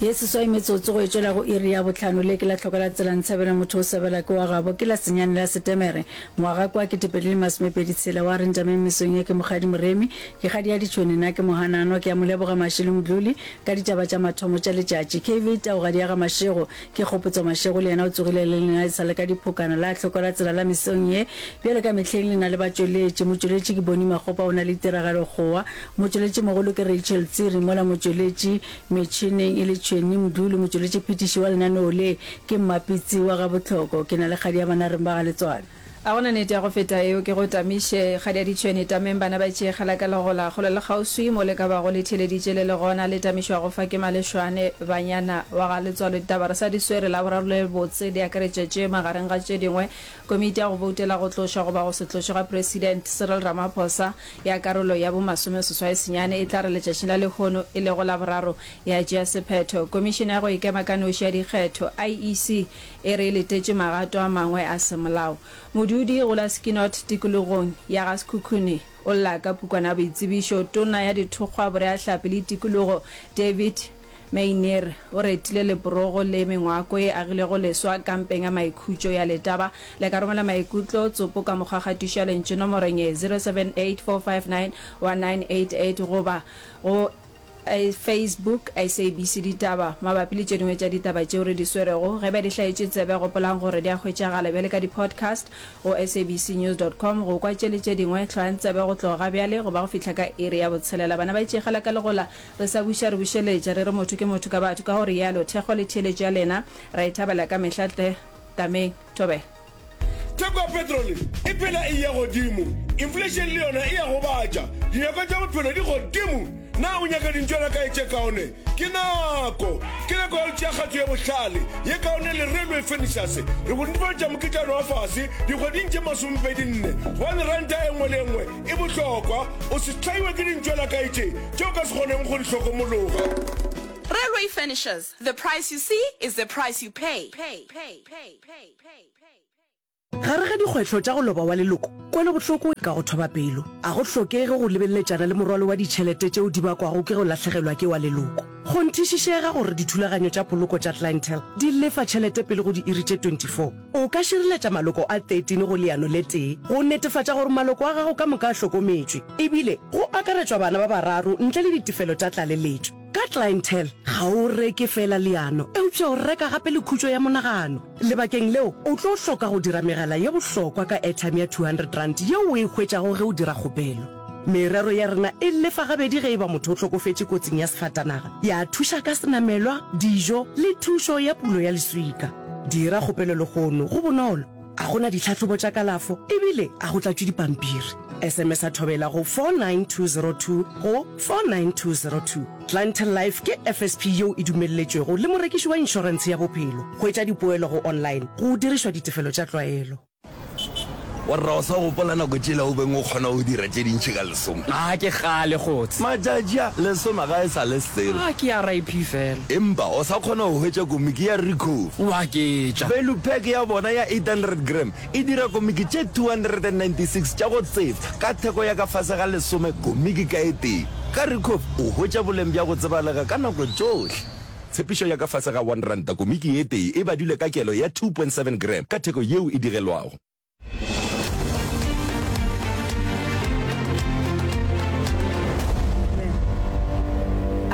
Ye seswai metsotso go e tšwela go iri ya bohlano. Le ke la hloka la tsela Ntshabela motho o sebela ke wa gabo. Ke la senyane la Setemere ngwaga kwa 2026. Wa re ntameng mesong ye ke Mokgadi Moremi. Ke kgadi ya ditšhwene nna ke Mohananwa. Ke a mo leboga Mashilo Mdluli ka ditaba tša mathomo tša letšatši. KV Taugadi ya ga Mashego ke Kgopotso Mashego le yena o tsogile le lena e sa le ka diphokana. La hloka la tsela la mesong ye bjalo ka mehleng le na le batšweletši. Motšweletši ke Bonnie Makgopa o na le tiragalo kgowa. Motšweletšimogolo ke Rachel Tsiri mola motšweletši Metšhineng e le Tšhweni Mdluli, motšweletšiphethiši wa lenaneo le ke Mmapitsi wa Gabohloko. Ke na le kgadi ya banareng ba ga Letswalo. A go na nete ya go feta eo? Ke go tamiše, kgadi ya ditšhwene, tameng bana ba tšeegela ka legola, kgole le kgauswi mo le ka bago le theeleditše le le gona, le tamišwago fa ke Malešwane, banyana wa ga Letswalo. Ditaba re sa di swere, Laboraro le botse di akaretša tše, magareng ga tše dingwe, Komiti ya go boutela go tlošwa goba go se tlošwe ga President Cyril Ramaphosa ya karolo ya bo masomeseswai senyane e tla re letšatšing la lehono e lego Laboraro ya tšea sephetho. Komišene ya go ikema ka noši ya dikgetho, IEC, e re e letetše magato a mangwe a semolao. Modudi go la Skinot tikologong ya ga Sekhukhune o lla ka pukwana ya boitsebišo. Tona ya Dithokgwa, Boreahlapi le Tikologo David Meinier o retile leporogo le mengwako e agilwego leswa kampeng ya maikhutšo ya Letaba. Le ka romela maikutlo tsopo ka mokgwa kgatišo ya lentšu nomorong ye 0784591988 goba go Facebook SABC Ditaba mabapi le tše dingwe tša ditaba tšeo re di swerego. Ge ba di hlaetše tsebe gopolang gore di a hwetšagala bjale ka di-podcast go sabcnews dot com go kwa tše le tše dingwe. Hlwayang tsebe go tloga ga bjale go ba go fihla ka iri ya botshelela. Bana ba itšegela ka legola Re sa buša re bušeletša, re re motho ke motho ka batho, ka go realo thekgo le theeletšo ya lena ra e thabela ka mehla tle tameng. Thobela. Theko ya petrole e phela e eya godimo, inflation le yona e a gobatša, dinyakwa tša bophelo di godimo. Na o nyaka dintšwelakae tše kaone? Ke nako! Ke nako ya go tšea kgato ye bohlale, ye kaone le Railway Furnitures. Re go netefaletša mokitlano wa fase dikgweding tše masomepedi-nne, gobane ranta e nngwe le e nngwe E bohlokwa, o se hlaiwe ke dintšwelakae tše tše o ka se kgoneng go di hlokomologa. Railway Furnishers, the price you see is the price you pay. Gare ga dikgwetlho tša go loba wa leloko, kwelobohloko e ka go thoba pelo. A go hlokege go lebeleletšana le morwalo wa ditšhelete tšeo di bakwago ke go lahlegelwa ke wa leloko. Kgonthišišega gore dithulaganyo tša poloko tša Clientele di lefa tšhelete pele go diiri tše 24. O ka šireletša maloko a 13 go leano le tee go netefatša gore maloko a gago ka moka a hlokometšwe, ebile go akaretšwa bana ba bararo ntle le ditefelo tša tlaleletšo. Ka Clientele, ga o reke feela leano, eupša o reka gape le khutšo ya monagano. Lebakeng leo, o tlo hloka go dira megala ye bohlokwa ka airtime ya R200 yeo o e hwetšago ge o dira kgopelo. Merero ya rena e lefa gabedi ge e ba motho o hlokofetše kotsing ya sefatanaga, ya thuša ka senamelwa, dijo le thušo ya pulo ya leswika. Dira kgopelo lehono, go bonolo, a go na ditlhahlobo tša kalafo ebile a go tlatšwe dipampiri. SMS-a Thobela go 49202 go 49202. Clientele Life ke FSP yeo e dumelletšwego le morekiši wa inšorentshe ya bophelo. Hwetša dipoelo go online go dirišwa ditefelo tša tlwaelo. Warra o sa gopola nako tšela o beng o kgona go dira tše dintši ka lesome? A ke kgale kgotse. Matšatši a, lesome ga e sa le selo. A ke RIP fela. Empa o sa kgona go hwetša komiki ya Ricoh. O a ketša. Value pack ya bona ya 800 gram e dira komiki tše 296 tša go tsefa ka theko ya ka fase ga lesome komiki ka e tee. Ka Ricoh o hwetša boleng bja go tsebalega ka nako tšohle. Tshepišo ya ka fase ga R1 komiki ye tee e badilwe ka kelo ya 2.7 gram ka theko yeo e digelwago.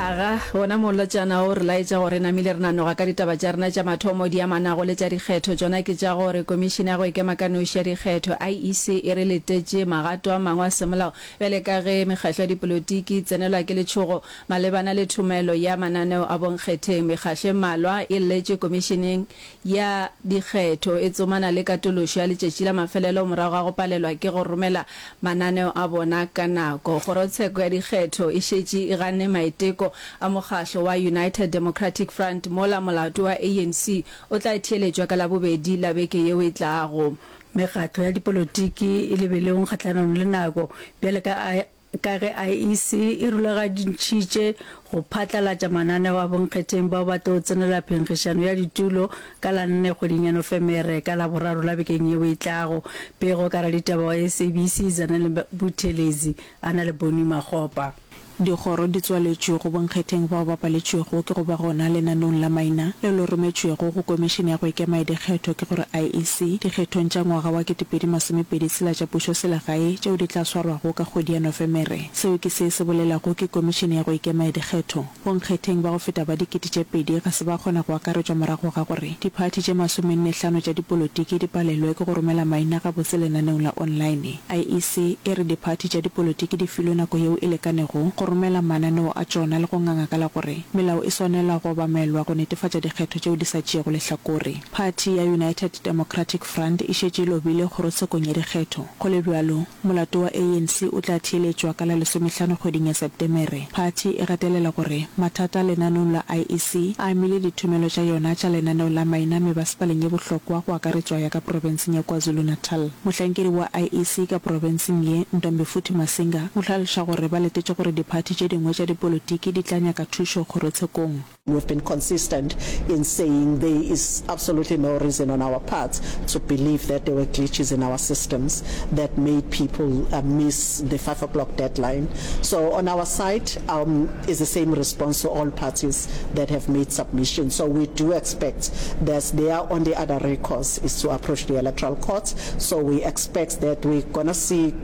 Aga, wona molotšana wo o re laetša gore re namile re nanoga ka ditaba tša rena tša mathomo di amanago le tša dikgetho. Tšona ke tša gore Komišene ya go Ikema ka Noši ya Dikgetho, IEC, e re letetše magato a mangwe a semolao bjale ka ge mekgahlo ya dipolotiki e tsenelwa ke letšhogo Malebana le thomelo ya mananeo a bonkgetheng, mekgahlo e mmalwa e lletše Komišeneng ya Dikgetho e tsomana le katološo ya letšatši la mafelelo morago ga go palelwa ke go romela mananeo a bona ka nako. Kgorotsheko ya Dikgetho e šetše e ganne maiteko a mokgahlo wa United Democratic Front mola molato wa ANC o tla theeletšwa ka Labobedi la beke yeo e tlago. Mekgatlo ya dipolotiki e lebelong kgahlanong le nako bjale ka Ka ge IEC e rulagantšhitše go phatlalatša mananeo a bonkgetheng bao ba tlo tsenela phenkgišano ya ditulo ka la nne kgweding ya Nofemere ka Laboraro la bekeng yeo e tlago. Pego ka raditaba wa SABC Zanele Buthelezi a na le Bonnie Makgopa. Dikgoro di tswaletšwe go bonkgetheng bao ba paletšwego ke go ba gona lenaneong la maina leo le rometšwego go Komišene ya go Ikema ya Dikgetho ke gore IEC dikgethong tša ngwaga wa 2026 tša pušoselegae tšeo di tla swarwago ka kgwedi ya Nofemere. Seo ke se se bolelago ke Komišene ya go Ikema ya Dikgetho. Bonkgetheng ba go feta ba 2000 ga se ba kgona go akaretšwa morago ga gore diphathi tše masomenne-hlano tša dipolotiki di palelwe ke go romela maina gabotse lenaneong la online. IEC e re diphathi tša dipolotiki di filwe nako yeo e lekanego go romela mananeo a tšona le go nganga ka la gore melao e swanela go obamelwa go netefatša dikgetho tšeo di sa tšeego lehlakore. Phathi ya United Democratic Front e šetše e lobile kgorotshekong ya dikgetho. Go le bjalo, molato wa ANC o tla theeletšwa ka la lesomehlano kgweding ya Setemere. Phathi e gatelela gore mathata lenaneong la IEC a amile dithomelo tša yona tša lenaneo la maina mebasepaleng ye bohlokwa go akaretšwa ya ka profenseng ya KwaZulu-Natal. Mohlankedi wa IEC ka profenseng ye, Ntombifuthi Masinga, o hlaloša gore ba letetše gore diphathi tše dingwe tša dipolotiki di tla nyaka thušo kgorotshekong. We've been consistent in saying there is absolutely no reason on our part to believe that there were glitches in our systems that made people uh, miss the 5 o'clock deadline. So on our side um, is the same response to all parties that have made submissions. So we do expect that their only other recourse is to approach the electoral court. So we expect that we're going to see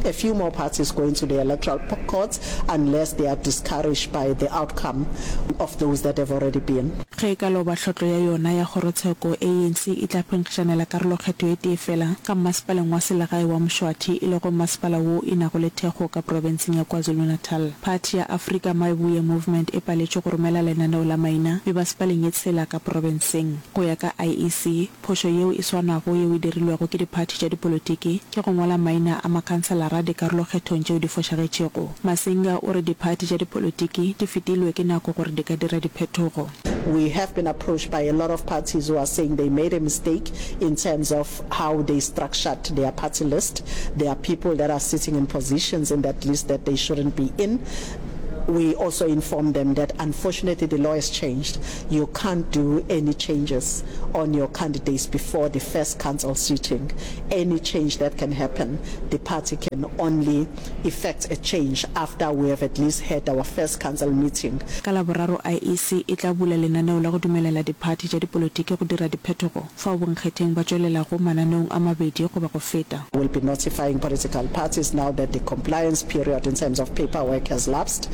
a few more parties going to the electoral courts unless they are discouraged by the outcome of those that have already been. Ge e ka loba hlotlo ya yona ya kgorotsheko, ANC e tla phenkgišanela karolokgetho e tee fela ka mmasepaleng wa selegae wa Mshwathi, e lego mmasepala wo e nago le thekgo ka profenseng ya KwaZulu-Natal. Phathi ya Afrika Mayibuye Movement e paletšwe go romela lenaneo la maina mebasepaleng ye tshela ka profenseng. Go ya ka IEC, Phošo yeo e swanago yeo e dirilwego ke diphathi tša dipolotiki ke go ngwala maina a makhanselara dikarolokgethong tšeo di fošagetšego. Masinga o re diphathi tša dipolotiki di fetilwe ke nako gore di ka dira diphetogo. We have been approached by a lot of parties who are saying they made a mistake in terms of how they structured their party list. There are people that are sitting in positions in that list that they shouldn't be in. We also informed them that unfortunately the law has changed. You can't do any changes on your candidates before the first council sitting. Any change that can happen, the party can only effect a change after we have at least had our first council meeting. Ka Laboraro IEC e tla bula lenaneo la go dumelela diphathi tša dipolotiki go dira diphetogo fao bonkgetheng ba tšwelelago mananeong a mabedi goba go feta. We'll be notifying political parties now that the compliance period in terms of paperwork has lapsed.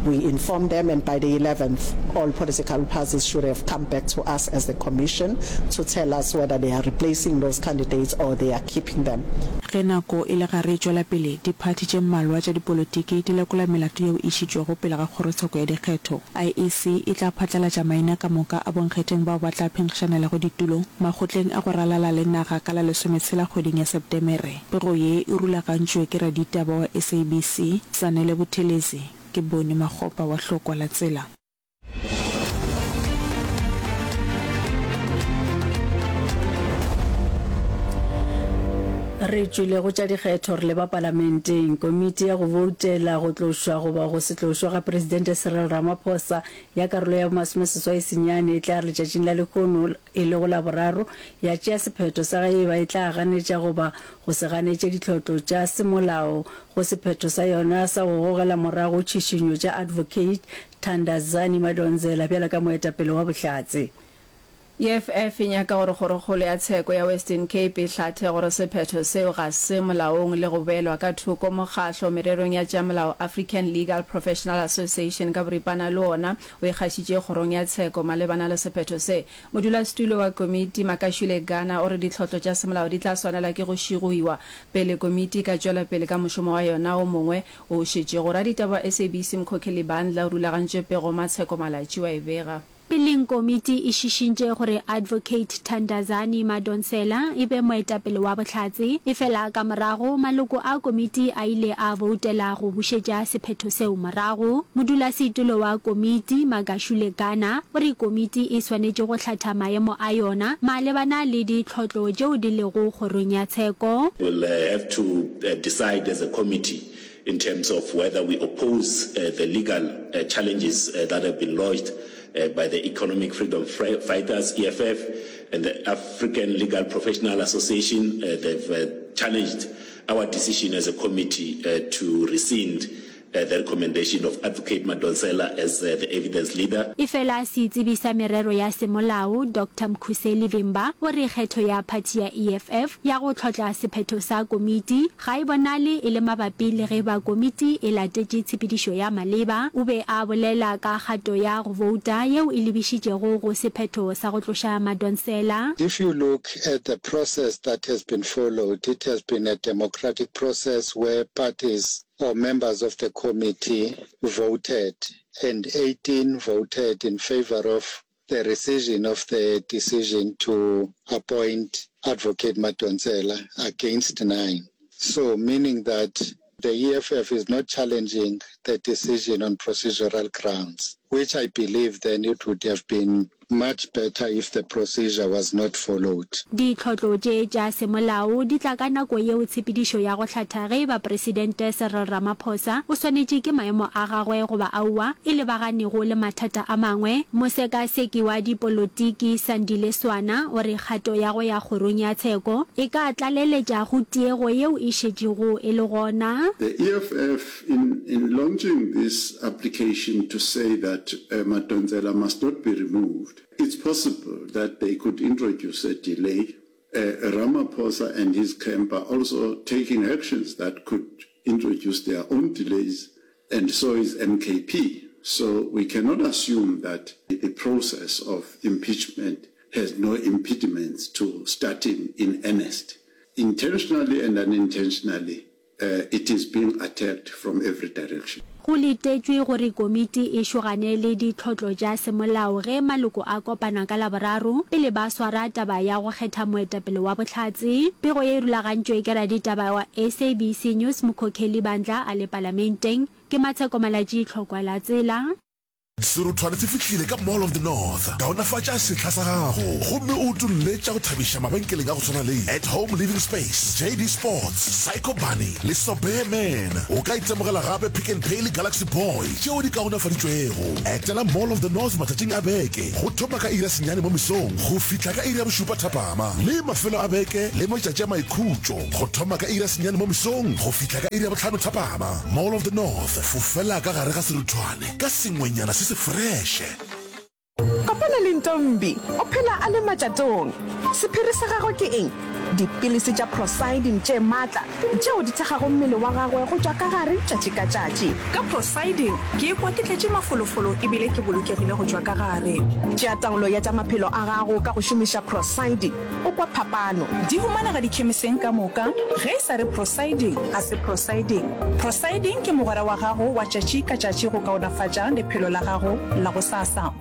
We inform them and by the 11th all political parties should have come back to us as the commission to tell us whether they are replacing those candidates or they are keeping them. Ge nako e le gare e tšwela pele, diphathi tše mmalwa tša dipolotiki di lekola melato yeo e išitšwego pele ga kgorotsheko ya dikgetho. IEC e tla phatlalatša maina ka moka a bonkgetheng bao ba tla phenkgišanelago ditulo makgotleng a go ralala le naga ka la lesometshela kgweding ya Setemere. Pego ye e rulagantšwe ke raditaba wa SABC, Zanele Buthelezi, ke Boni Makgopa wa Hlokwa la Tsela. Re tšwile go tša dikgetho re leba palamenteng. Komiti ya go boutela go tlošwa goba go se tlošwe ga Presidente Cyril Ramaphosa ya karolo ya bomasomeseswai senyane e tla re letšatšing la lehono e lego Laboraro ya tšea sephetho sa ge e ba e tla ganetša goba go se ganetše ditlhotlo tša semolao go sephetho sa yona sa go gogela morago tšhišinyo tša Advocate Thandazani Madonsela bjalo ka moetapele wa bohlatse. EFF e nyaka gore Kgorokgolo ya Tsheko ya Western Cape e hlathe gore sephetho seo ga se molaong le go beelwa ka thoko mokgahlo mererong ya tša molao African Legal Professional Association ka boripana le wona o ikgašitše kgorong ya tsheko malebana le sephetho se. Modulasetulo wa komiti Makashule Gana o re ditlhotlo tša semolao di tla swanela ke go šigoiwa pele komiti e ka tšwela pele ka mošomo wa yona o mongwe o šetšego. Raditaba wa SABC Mkhokheli Bandla o rulagantše pego Matsheko Malatji wa e bega. Peleng komiti e šišintše gore Advocate Thandazani Madonsela e be moetapele wa bohlatse, efela ka morago maloko a komiti a ile a boutela go bušetša sephetho seo morago. Modulasetulo wa komiti, Magashule Gana, o re komiti e swanetše go hlatha maemo a yona malebana le ditlhotlo tšeo di lego kgorong ya tsheko. We'll have to decide as a committee in terms of whether we oppose the legal challenges that have been lodged by the Economic Freedom Fighters, EFF, and the African Legal Professional Association. They've challenged our decision as a committee to rescind. the recommendation of Advocate Madonsela as the evidence leader. Efela setsebi sa merero ya semolao, Doctor Mkhuseli Vimba, o re kgetho ya phathi ya EFF ya go hlotla sephetho sa komiti ga e bonale e le mabapi le ge ba komiti e latetše tshepedišo ya maleba. O be a bolela ka kgato ya go bouta yeo e lebišitšego go sephetho sa go tloša Madonsela. If you look at the process that has been followed, it has been a democratic process where parties or members of the committee voted and 18 voted in favour of the rescission of the decision to appoint Advocate Madonsela against nine. So meaning that the EFF is not challenging the decision on procedural grounds, which I believe then it would have been much better if the procedure was not followed. Ditlhotlo tše tša semolao di tla ka nako yeo tshepedišo ya go hlatha ge e ba Presidente Cyril Ramaphosa o swanetše ke maemo a gagwe goba aowa e lebaganego le mathata a mangwe. Mosekaseki wa dipolotiki Sandile Swana o re kgato ya go ya kgorong ya tsheko e ka tlaleletša go tiego yeo e šetšego e le gona. The EFF in in launching this application to say that Madonsela must not be removed, it's possible that they could introduce a delay. Ramaphosa and his camp are also taking actions that could introduce their own delays and so is MKP. So we cannot assume that the process of impeachment has no impediments to starting in earnest. Intentionally and unintentionally, it is being attacked from every direction. Go letetšwe gore komiti e šogane le ditlhotlo tša semolao ge maloko a kopana ka Laboraro pele ba swara taba ya go kgetha moetapele wa bohlatse. Pego ye e rulagantšwe ke raditaba wa SABC News Mkhokheli Bandla a le Palamenteng. Ke Matsheko Malatji Tlhokwa la Tsela. Seruthwane se fihlile ka Mall of the North. Kaonafatša sehla sa gago gomme o utolle tša go thabiša mabenkeleng a go swana le At Home Living Space, JD Sports, Psycho Bunny le Sobear Man. O ka itemogela gape Pick n Pay le Galaxy Boy tšeo di kaonafaditšwego. Etela Mall of the North matšatšing a beke go thoma ka iri ya senyane mo mesong go fihla ka iri ya bošupa thapama le mafelo a beke le matšatši a maikhutšo go thoma ka iri ya senyane mo mesong go fihla ka iri ya bohlano thapama. Mall of the North, fofela ka gare ga seruthwane. Ka sengwenyana se se freše. Kopana le Ntombi, o phela a le matšatong. Sephiri sa gagwe ke eng? Dipilisi tša Procydim tše matla tšeo di thekgago mmele wa gagwe go tšwa ka gare tšatši ka tšatši. Ka Procydim, ke ikwa ke tletše mafolofolo e bile ke bolokegile go tšwa ka gare. Tšea taolo ya tša maphelo a gago ka go šomiša Procydim. O kwa phapano. Di humanega dikhemiseng ka moka. Ge e sa re Prosiding, ga se Prosiding. Prosiding ke mogwera wa gago wa tšatši ka tšatši go kaonafatša lephelo la gago la gosasa.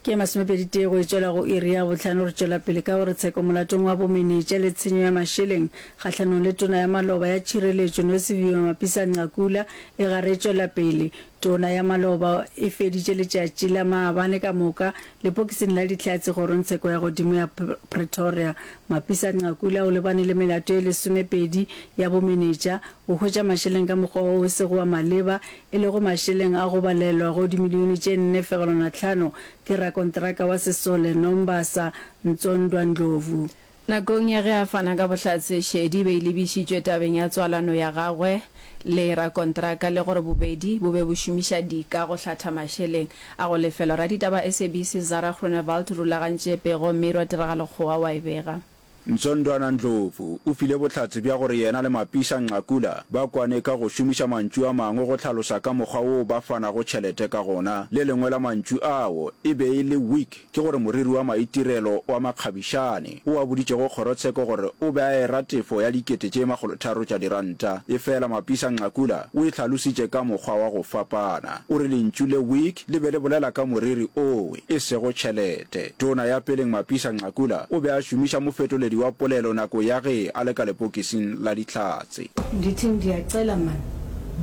Ke masomepeditee go e tšwela go iri ya bohlano. Re tšwela pele ka gore tsheko molatong wa bomenetša le tshenyo ya mašeleng kgahlanong le tona ya maloba ya tšhireletšo Nosiviwe Mapisa-Nqakula e gare e tšwela pele. Tona ya maloba e feditše letšatši la maabane ka moka lepokising la Dihlatse kgorongtsheko ya godimo ya Pretoria. Mapisa-Nqakula o lebane le melato ye lesomepedi ya bomenetša, go hwetša mašeleng ka mokgwa wo o sego wa maleba, e lego mašeleng a go balelwa go dimilione tše nne fegelwana tlhano ke rakonteraka wa sesole Nombasa Ntsondwa Ndlovu. Nakong ya ge a fana ka bohlatse, šedi e be e lebišitšwe tabeng ya tswalano ya gagwe le rakontraka le gore bobedi bo be bo šomiša dika go hlatha mašeleng a go lefelwa. Raditaba SABC Zara Groenewald o rulagantše pego mme Tiragalo Kgowa wa e bega. Ntsondwana Ndlovu o file bohlatse bja gore yena le Mapisa Nqakula ba kwane ka go šomiša mantšu a mangwe go hlalosa ka mokgwa woo ba fanago tšhelete ka gona. Le lengwe la mantšu ao e be e le wig. Ke gore moriri wa maitirelo wa makgabišane, o a boditšego kgorotsheko gore o be a era tefo ya dikete tše makgolotharo tša diranta. Efela Mapisa Nqakula o e hlalositše ka mokgwa wa go fapana. O re lentšu le wig le be le bolela ka moriri owe, e sego tšhelete. Tona ya peleng Mapisa Nqakula o be a šomiša mofetoledi wa polelo nako ya ge a le ka lepokising la Dihlatse. Ndithi ndiyacela man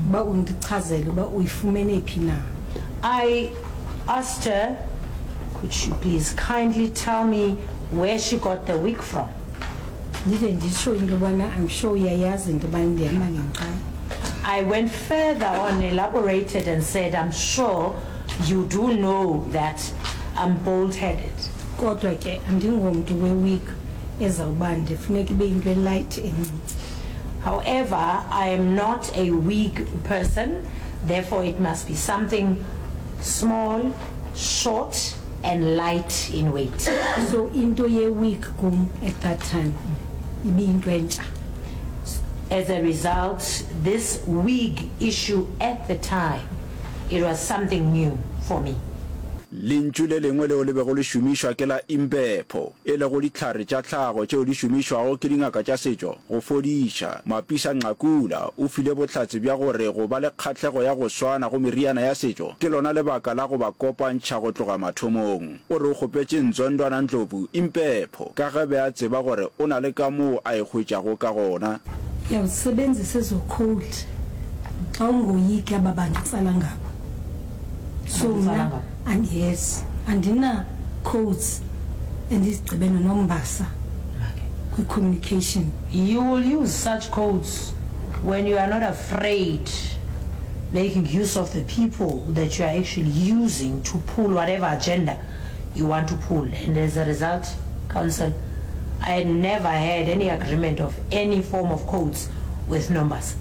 uba undichazele uba uyifumene phi na. I asked her could she please kindly tell me where she got the wig from. Ndide nditsho into yobana I'm sure uyayazi into yobana ndihamba ngenkqayi. I went further on, elaborated and said I'm sure you do know that I'm bold headed. Kodwa ke andingomntu we wig ezawuba nde funeka ibe yinto e light encinci. However, I am not a wig person, therefore it must be something small, short and light in weight. So into ye wig kum at that time ibiyinto entsha. As a result, this wig issue at the time, it was something new for me. Lentšu le lengwe leo le bego le šomišwa ke la impepho, e lego dihlare tša tlhago tšeo di šomišwago ke dingaka tša setšo go fodiša. Mapisa-Nqakula o file bohlatse bja gore go ba le kgahlego ya go swana go meriana ya setšo ke lona lebaka la go ba kopantšha go tloga mathomong. O re o kgopetše Nzondwana Ndlovu impepho ka ge be a tseba gore o na le kamoo a e hwetšago ka gona. Uyawusebenzisa ezo code xa ungoyiki aba bantu utsala ngabo. So mna and yes andina codes endizigqibe noNombasa kwi communication. You will use such codes when you are not afraid making use of the people that you are actually using to pull whatever agenda you want to pull and as a result counsel I had never had any agreement of any form of codes with Nombasa.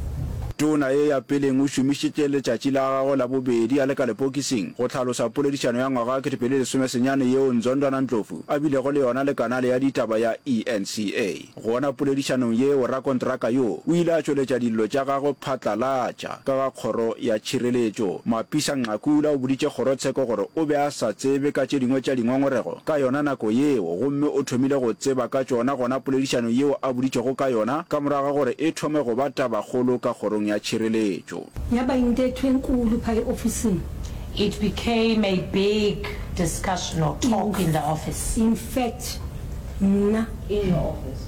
Tona ye ya peleng o šomišitše letšatši la gagwe la bobedi a le ka lepokising go hlalosa poledišano ya ngwaga wa 2019 yeo Nzondwana Ndlovu a bilego le yona le kanale ya ditaba ya eNCA. Gona poledišanong yeo rakontraka yo o ile a tšweletša dillo tša gagwe phatlalatša ka ga kgoro ya tšhireletšo. Mapisa Nqakula o boditše kgorotsheko gore o be a sa tsebe ka tše dingwe tša dingongorego ka yona nako yeo gomme o thomile go tseba ka tšona gona poledišanong yeo a boditšwego ka yona ka morago ga gore e thome go ba tabakgolo ka kgorong ya tšhireletšo. Ya ba intetho enkulu pha eofisini. It became a big discussion or talk in the office. In fact, mna. In your office?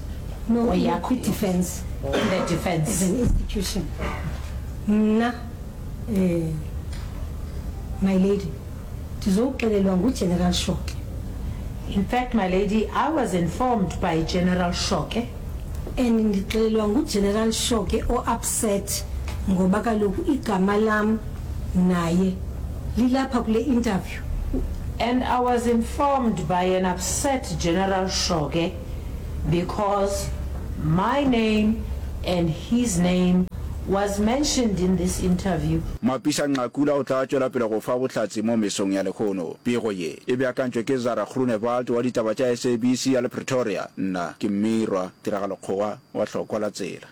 No, in the defense. In the defense. As an institution. Mna, eh, my lady, ndizowuxelelwa nguGeneral Shoke. In fact, my lady, I was informed by General Shoke. And ndixelelwa nguGeneral Shoke o-upset ngoba kaloku igama lam naye lilapha kule interview. And I was informed by an upset General Shoke because my name and his name was mentioned in this interview. Mapisa-Nqakula o tla tšwela pele go fa bohlatse mo mesong ya lehono. Pego ye e beakantšwe ke Zara Groenewald wa ditaba tša SABC ya le Pretoria. Nna ke Mmirwa Tiragalo Kgowa wa Hlokwa la Tsela.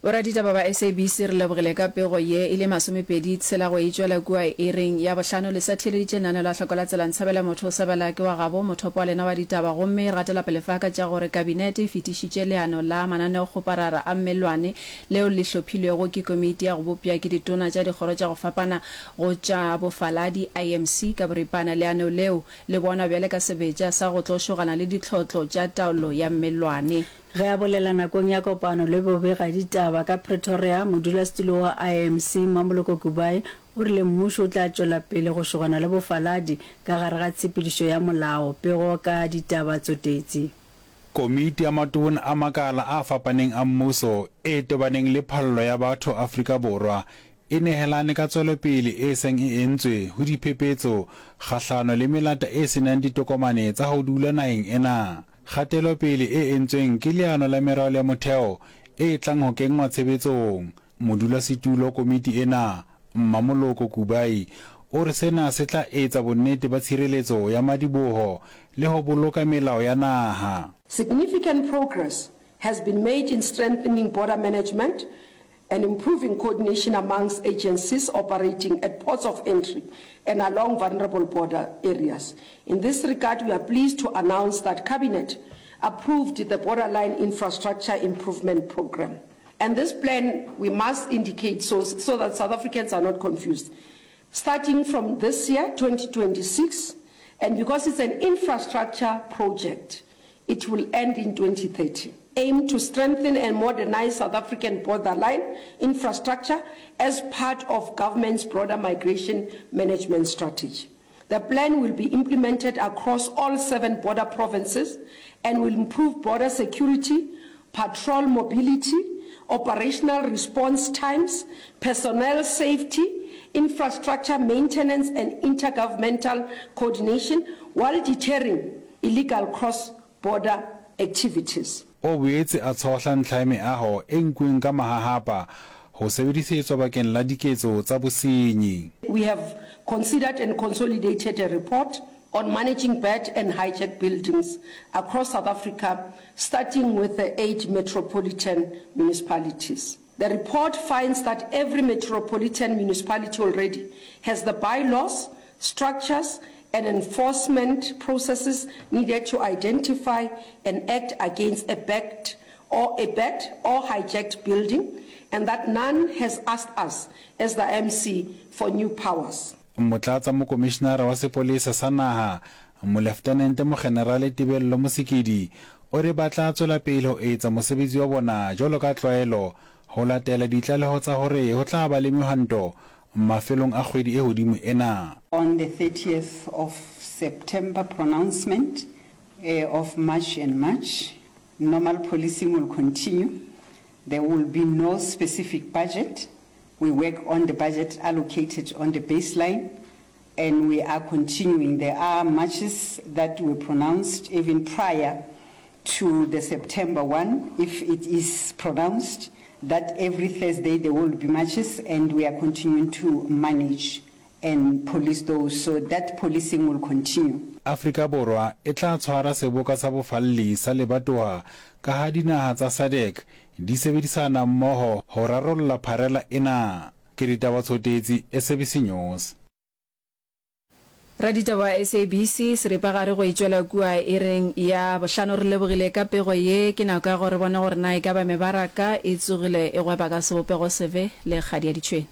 Boraditaba ba SABC re lebogile ka pego ye e le masomepedi tshela go e tšwela kua iring ya bohlano. Le sa theeleditše lenaneo la Hloko la Tsela Ntshabela Motho o Sebela ke wa gabo mothopo wa lena wa ditaba gomme re gatela pele fa ka tša gore Kabinete e fetišitše leano la mananeokgoparara a mellwane leo le hlophilwego ke komiti ya go bopša ke ditona tša dikgoro tša go fapana go tša bofaladi, IMC, ka boripana. Leano leo le bonwa bjale ka sebetša sa go tlo šogana le ditlhotlo tša taolo ya mellwane. Ge a bolela nakong ya kopano le bobegaditaba ka Pretoria, modulasetulo wa IMC Mmamoloko Kubayi o rile mmušo o tla tšwela pele go šogana le bofaladi ka gare ga tshepedišo ya molao. Pego ka ditaba Tsotetsi. Komiti ya Matona a Makala a fapaneng a Mmuso e tobaneng le phallo ya batho Afrika Borwa e nehelane ka tswelopele e seng e entswe ho diphephetso kgahlano le melata e se nang ditokomane tsa ho dula naheng ena. Kgatelopele e entsweng ke leano la meralo ya motheo e tlang ho kenngwa tshebetsong. Modulasetulo komiti ena, Mmamoloko Kubayi, o re sena se tla etsa bonnete ba tshireletso ya madiboho le ho boloka melao ya naha. Significant progress has been made in strengthening border management and improving coordination amongst agencies operating at ports of entry and along vulnerable border areas. In this regard, we are pleased to announce that Cabinet approved the Borderline Infrastructure Improvement Programme. And this plan, we must indicate so, so that South Africans are not confused. Starting from this year, 2026, and because it's an infrastructure project, it will end in 2030. Aim to strengthen and modernize South African borderline infrastructure as part of government's broader migration management strategy. The plan will be implemented across all seven border provinces and will improve border security, patrol mobility, operational response times, personnel safety, infrastructure maintenance and intergovernmental coordination while deterring illegal cross-border activities. O boetse a tshohla ntlha ya meaho e nkuweng ka mahahapa ho sebedisetswa bakeng la diketso tsa bosenyi. We have considered and consolidated a report on managing bad and hijacked buildings across South Africa, starting with the eight metropolitan municipalities. The report finds that every metropolitan municipality already has the bylaws, structures and enforcement processes needed to identify and act against a backed or a bad or hijacked building and that none has asked us as the MC for new powers. Motlatsamokomišenara wa Sepolesa sa Naha, Moleftenente Mogenerale Tebello Mosekedi, o re ba tla tswela pele ho etsa mosebetsi wa bona jwalo ka tlwaelo ho latela ditlaleho tsa hore ho tla ba le mehwanto mafelong a kgwedi e hodimo ena. On the 30th of September pronouncement of March and March, normal policing will continue. There will be no specific budget. We work on the budget allocated on the baseline and we are continuing. There are marches that were pronounced even prior to the September one, if it is pronounced, that every Thursday there will be marches and we are continuing to manage and police those. So that policing will continue. Afrika Borwa e tla tshwara seboka sa bofalli sa lebatowa ka ha dinaha tsa SADC di sebedisana mmoho ho rarolla pharela ena. Ke Ditaba Tshotetsi, SABC News. Raditaba wa SABC, seripagare go e tšwela kua iring ya bohlano. Re lebogile ka pego ye. Ke nako ya gore re bone gore na e ka ba mebaraka e tsogile e gweba ka sebopego sefe le kgadi ya ditšhwene.